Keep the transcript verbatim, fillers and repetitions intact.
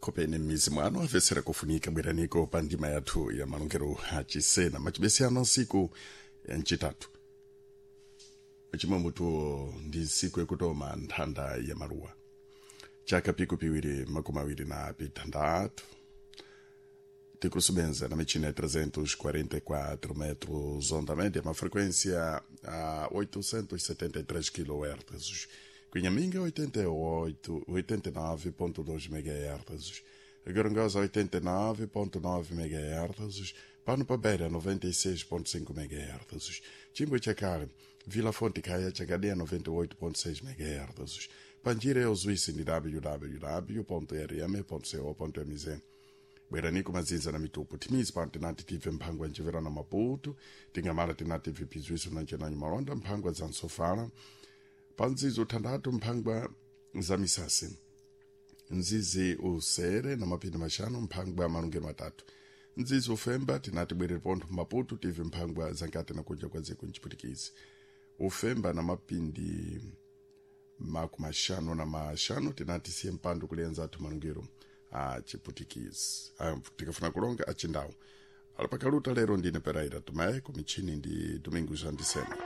Khopene m'mizi mwanu amvetsera kufunika bweraniko pa ndima yathu ya malongero achisena machibesiyano nsiku ya mchitatu chimwe mutuwo ndi nsiku yakutoma nthanda ya maluwa chaka piku piwiri makumi awiri na pitandatu tikusubenza na michina ya trezentos e quarenta e quatro metros onda média, uma frequência a oitocentos e setenta e três quilohertz. Cunhaminga oitenta e oito, oitenta e nove ponto dois megahertz. Gorongosa oitenta e nove ponto nove megahertz. Pano Beira noventa e seis ponto cinco megahertz. Chimbo Chakar, Vila Fonte Caia Chagadia noventa e oito ponto seis megahertz. Panjira é o Suíça em w w w ponto r m ponto co ponto m z. Bwerani kumazinza na mitupu timizi pano tinati tive mphangwa ncivera na Maputo tingamala tinati vipizwiso na ncenanyi malonda mphangwa za nsofala pa nzizi uthandatu mphangwa za misasi nzizi usere na mapindi maxanu mphangwa malungelo matatu nzizi ufemba tinati bwerere pontho Maputo tive mphangwa zankati na kunja kwa dziko nciputikizi ufemba na mapindi makumi maxanu na maxanu tinati siye mpando kulienza athu malungelo a chiputikizi tikafuna kulonga achindawu alapakaluta lero ndine Pereira Tomé kumichini ndi Domingos Andisema.